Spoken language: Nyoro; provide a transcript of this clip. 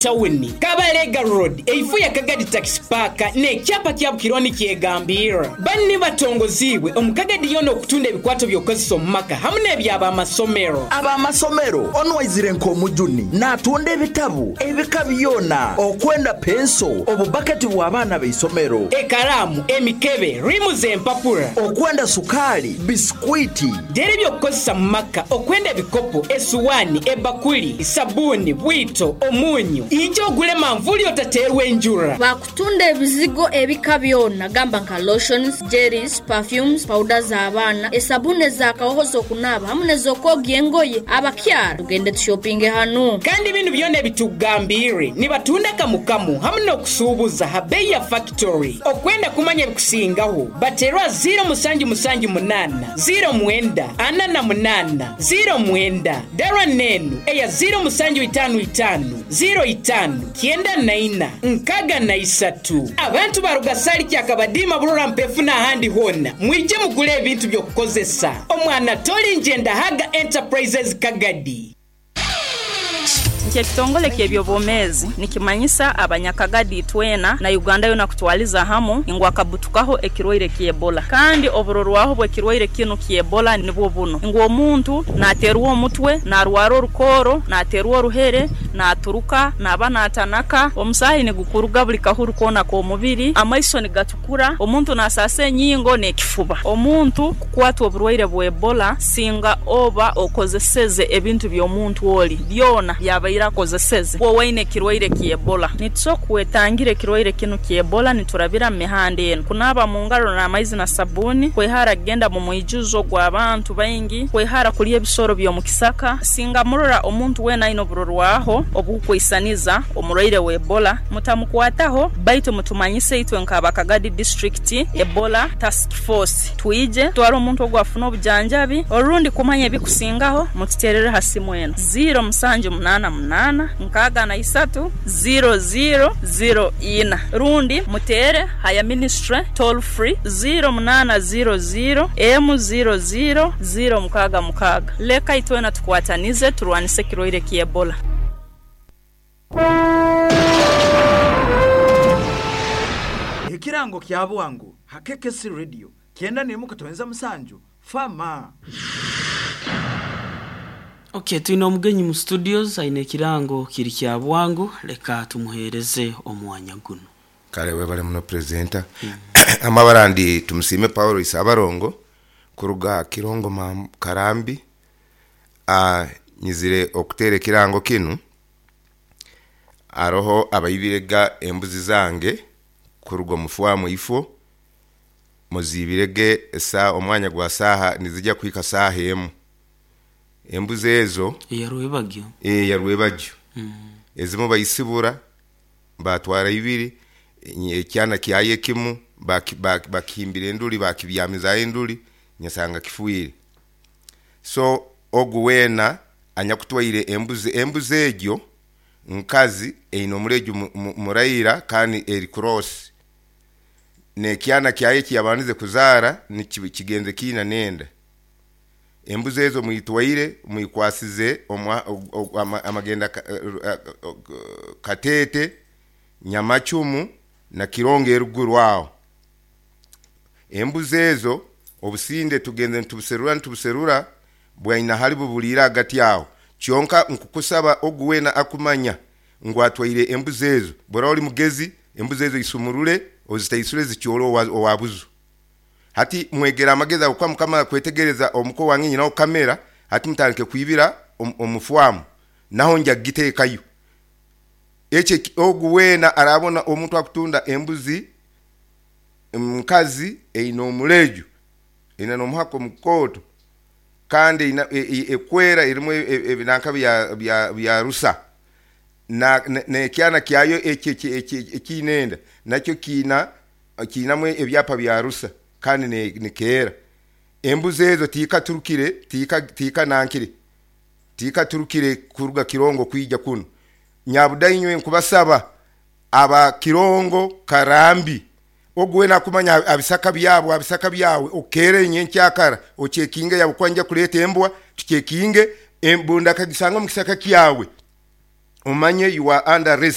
Tawuni, Kabalega Road, eifo ya Kagadi Taxi Park n'ekyapa kya Bukirwa nikyegambirra. Banu nibatongoziibwe omu Kagadi yoona okutunda ebikwato by'okukozesa omu maka hamu n'eby'abamasomero. Ab'amasomero, Onu aizire nk'omujuni n'atunda ebitabu ebika byona okwenda penso, obubbaketi bw'abaana b'eisomero. Ekalaamu, emikebe, riimu z'empapura. Okwenda sukaali, bisikwiti. Dera eby'okukozesa mu maka okwenda ebikopo, esuwaani, ebbakuli, sabbuuni, bwito, omunyu. Ija ogule manvuuli otateerwa enjura. Bakutunda ebizigo ebika byona gamba nka lotions, jellies, perfumes, powder z'abaana, esabuni ez'akahoho z'okunaaba hamu n'ez'okwogya engoye. Abakyara tugende tushopinge hanu. Kandi binu byona ebitukugambiire nibatunda kamu kamu hamu n'okusuubuza ha beeyi ya fakitori. Okwenda kumanya ebikusingaho, bateerwa ziiro musanju musanju munaana. Ziiro mwenda, ana na munaana, ziiro mwenda, dara n'enu eya ziiro musanju itaanu itaanu, ziiro itaanu, kyenda na ina, nkaaga na isatu. Abantu baruga Sali, Kyakabadiima, Burora, Mpefu n'ahandi hoona, mwije mugule ebintu by'okukozesa. Omwana toli Njendahaga Enterprises Kagadi. Nti ekitongole ky'eby'obwomeezi nikimanyisa abanyakagadi itwena na Uganda yoona kutwaliza hamu ngu akabutukaho ekirwaire ky'Ebola. Kandi oburorwaho bw'ekirwaire kinu ky'Ebola nibwo bunu ngu omuntu naterwa omutwe, narwara orukooro, naterwa oruhere, naturuka, naba natanaka, omusaahi nigukuruga buli kahuru koona k'omubiri, amaiso nigatukura, omuntu nasaasa enyingo n'ekifuba. Omuntu kukwatwa oburwaire bwa Ebola singa oba okozeseze ebintu by'omuntu oli byona byabaire akozeseze obu owaine ekirwaire kya Ebola. Nitusobora kwetangira ekirwaire kinu kya Ebola niturabira mu mihanda enu, kunaaba mu ngaro n'amaizi na sabuuni, kwehara kugenda mu mwijuzo gw'abantu baingi, kwehara kulya ebisoro by'omu kisaka. Singa murora omuntu weena aine oburorwaho oburukwisaniza omurwaire wa Ebola, mutamukwataho baitu mutumanyise itwe nk'aba Kagadi District Ebola Task Force twije tutwale omuntu ogu afune obujanjabi. Orundi kumanya ebikusingaho mututerere ha simu enu, ziiro musanju munaana munaana nkaaga na isatu ziiro ziiro ziiro ina rundi muteere ha ya minisitule toll free ziiro munaana ziiro ziiro emu ziiro ziiro ziiro mukaaga mukaaga. Leka itwena tukwatanize turwanise ekirwaire kya Ebola. Ekirango kya bwangu ha KKC Radio kyenda n'emu katoenza musanju Fama. Ok, twine omugenyi mu studios aine ekirango kiri kya bwangu, leka tumuheereze omwanya guno. Kale webale muno Presenter. Amabara ndi Tumusiime Paul Isabarongo kuruga Kirongo Karambi. Nyizire okuteera ekirango kinu, haroho abaibire ga embuzi zange kuruga omu faamu eifo, muziibire ge omwanya gwa saaha nizija kuhika saaha emu. Embuzi ezo. Eya Rwebagyo? Eya Rwebagyo. Ezimu baisibura baatwara ibiri, ekyana kyayo ekimu bakihimbira enduli baakibyamizaayo enduli nyasanga kifwire. So ogu weena anyakutwaire embuzi, embuzi egyo nkazi eine omuleju muraira kandi eri cross, n'ekyana kyayo eki yabandize kuzaara ni kigenze kiina n'enda. Embuzi ezo mwitwaire mwikwasize amagenda Kateete, Nyamacumu na Kirongo eruguru aho. Embuzi ezo obusinde tugenze nitubuserura nitubuserura bwaina hali bubuliire agati aho. Kyonka nkukusaba ogu weena akumanya ngu atwaire embuzi ezo, bw'oraba oli mugezi, embuzi ezo isumurule ozitaisule zikyole owa buzu. Hati mwegere amagezi ago kuba mukamara kwetegereza omuka owange nyinaho kamera, hati mutandike kwibira omu faamu naho nja kugiteekayo. Ekyo ogu weena araabona omuntu akutunda embuzi nkazi eine omuleju, eine n'omuhaka omukooto kandi eine ekwera erimu ebinanka bya rusa n'ekyana kyayo ekyo ekiine enda nakyo kiinamu ebyapa bya rusa kandi nikeera. Embuzi ezo tikaturukire, tikanankire, tikaturukire kuruga Kirongo kwija kunu. Nyabuda inywe nkubasaba aba Kirongo Karambi, ogu weena akumanya abisaka byabo, abisaka byawe, okeere nyenkyakara ocekinge yaba kuba nija kuleeta embwa, tucekinge, embunda akagisanga omu kisaka kyawe. Omanye you are under arrest.